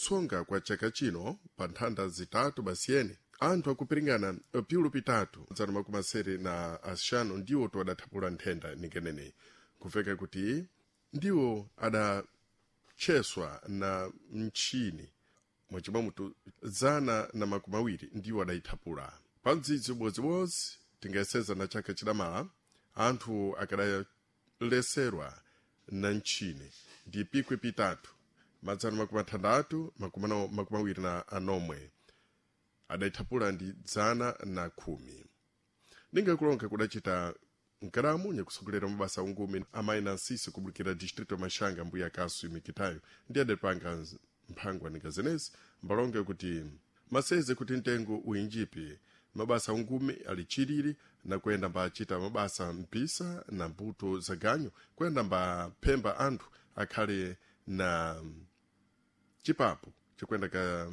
Kutsonga kwa chaka chino pa nthanda zitatu basiyene anthu akupiringana piulu pitatu zana makumi asere na axanu ndiwo to adathapula nthenda ningeneneyi kuveka kuti ndiwo adatcheswa na mtchini mwachimwamutu zana na makumi awiri ndiwo adayithapula pa mdzidzi ubodzibodzi tingayeseza na chaka chidamala anthu akadaleserwa na mtchini ndi pikwi pitatu madzana makumi athandathu makumi awiri na anomwe adayithapula ndi dzana na khumi ningakulonga kudacita nkalamu nyakusogolera mabasa ungumi amayi na nsisi kubulukira distrito ya maxanga mbuya kasu mikitayo ndi adapanga mphangwa ninga zenezi mbalonge kuti maseze kuti mtengo uyinjipi mabasa ungumi ali chilili na kuyenda mbachita mabasa mpisa na mbuto za ganyu kuyenda mbaphemba anthu akhale na chipapo chikuyenda ka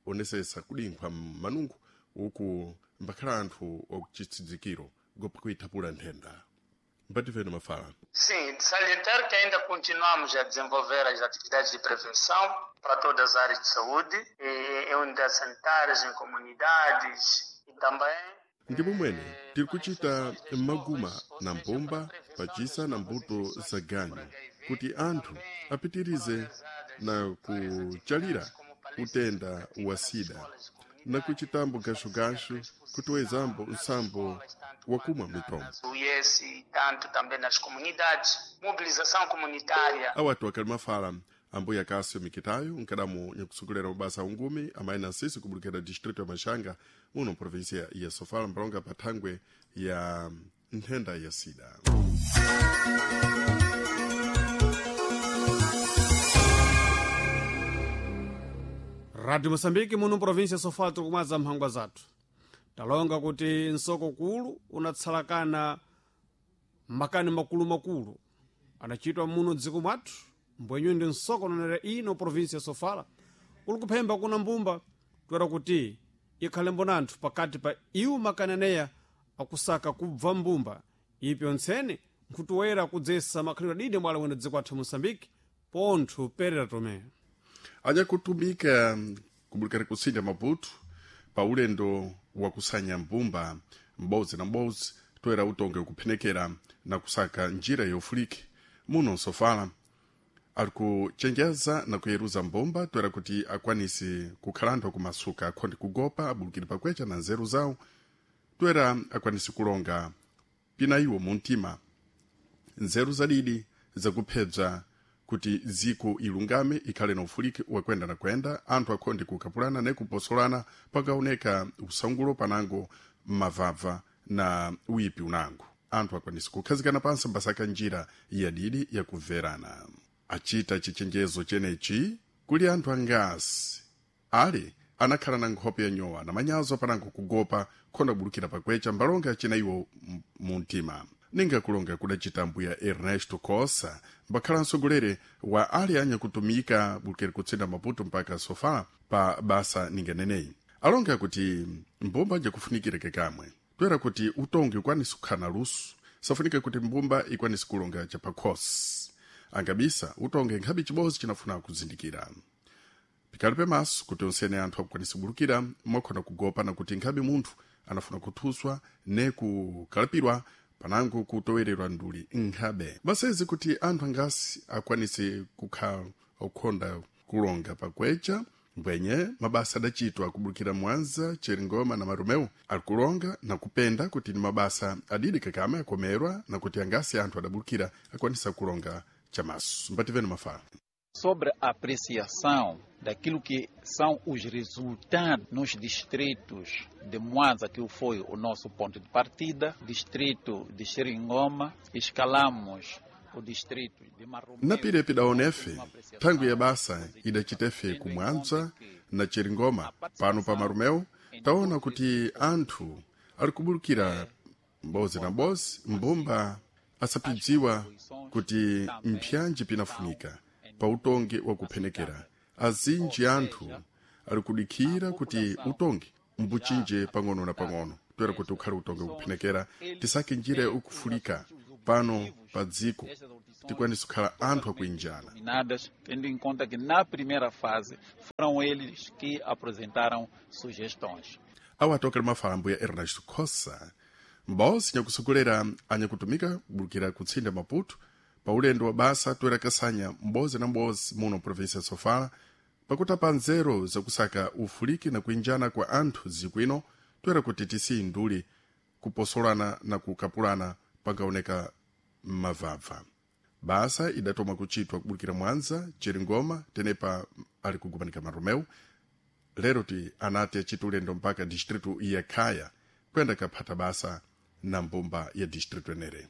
onesesa kudinkhwa manungu uku mbakhala anthu okuchitsidzikiro gopa kuithapula nthenda mbativeni mafala. Sim, de salientar que ainda continuamos a desenvolver as atividades de prevenção para todas as áreas de saúde, em unidades sanitárias, em comunidades e também. Ndi momwene tiri kuchita maguma na mbumba pachisa na mbuto za ganyu kuti anthu apitirize na kuchalira utenda wa sida na kuchitambo gashugashu kutiwezambo nsambo wakumwa mitombo. O IES, tanto também nas comunidades, mobilização comunitária. Awatu akali mafala ambuya Cássio Mikitayo nkadamu nyakusogolera mabasa ungumi amayi na nsisi kubulukira distrito ya Maxanga muno província ya Sofala mbalonga pa thangwe ya nthenda ya sida. Radio Moçambique muno província Sofala tikumadza mphangwa zathu. Talonga kuti nsoko kulu unatsalakana makani makulumakulu adachitwa muno dziko mwathu mbwenyu ndi nsoko unonera ino província Sofala kuli kuphemba kuna mbumba toera kuti ikhale mbona anthu pakati pa iwo makani aneya akusaka kubva mbumba ipyo ntsene nkhutuwera kudzesa makhalidwe adidi mwala wene dziko athu Moçambique pontho Perera Tomé. Anyakutumika kubulukira kusinja Maputo pa ulendo wakusanya mbumba m'bodzi na m'bodzi toera utonge kuphenekera na kusaka njira yofulike muno Sofala ali kuchenjeza na kuyeruza mbumba toera kuti akwanise kukhala anthu akumasuka akhonde kugopa abulukire pakwecha na nzeru zawo toera akwanise kulonga pina iwo muntima nzeru zadidi zakuphebza kuti dziko ilungame ikhale na ufuliki wakwenda na kwenda anthu akhonde kukapulana ne kuposolana pakaoneka usangulo panango mavava na uyipi unango anthu akwanise kukhazikana pansi mbasaka njira yadidi yakumverana. Achita chichenjezo chenechi kuli anthu angasi ali anakhala na nkhope yanyowa na manyazo panango kugopa khonda kubulukira pakwecha mbalonga achina iwo muntima. Ninga kulonga kudacita mbuya Ernesto Cossa mbakhala msogolere wa ali anyakutumika bulukira kutsinda Maputo mpaka Sofala pa basa ninganeneyi alonga kuti mbumba jakufunikira kekamwe toera kuti utongi ukwanise kukhala na luso safunika kuti mbumba ikwanise kulonga chapakhosi angabisa utonge nkhabe chibodzi chinafuna kuzindikira pikali pemaso kuti onsene anthu akukwanisa kubulukira mwakhona kugopa na kuti nkhabe munthu anafuna kuthuswa ne kukalipirwa panango kutowererwa nduli nkhabe basezi kuti anthu angasi akwanise kukhala okhonda kulonga pakwecha mbwenye mabasa adachitwa kubulukira Mwanza, Cheringoma na Marumeu alikulonga na kupenda kuti ni mabasa adidi kakame akomerwa na kuti angasi anthu adabulukira akwanisa kulonga chamaso. Mbativeni mafala. Sobre a apreciação daquilo que são os resultados nos distritos de Mwanza, que foi o nosso ponto de partida, distrito de Xeringoma, escalamos o distrito de Marromeu. Na pirepi da ONEF, thangwi ya basa idachitefe ku Mwanza na Cheringoma pano pa Marumeu, taona kuti anthu ali kubulukira m'bodzi na m'bodzi mbumba asapidziwa kuti mpyanji pinafunika pa utongi wakuphenekera. Azinji anthu ali kudikhira kuti utongi mbuchinje pang'ono na pang'ono toera kuti ukhale utongi wakuphenekera tisake njira ukufulika. Pano pa dziko tikwanisa kukhala anthu akuinjana. Dominadas, tendo em conta que na primeira fase foram eles que apresentaram sugestões. Awo atokele mafala ambuya Ernesto Khosa, m'bodzi nyakusogolera anyakutumika kubulukira kutsinda Maputo pa ulendo wa basa toera kasanya m'bodzi na m'bodzi muno província ya Sofala, pakutapa nzeru zakusaka ufuliki na kuinjana kwa anthu dziko ino, toera kuti tisiyinduli kuposolana na kukapulana pangaoneka m'mavabva. Basa idatoma kuchitwa kubulukira Mwanza, Chiringoma, tenepa ali kugumanika Maromeu. Lero ti anati achita ulendo mpaka distritu ya Khaya kuyenda kaphata basa na mbumba ya distritu enere.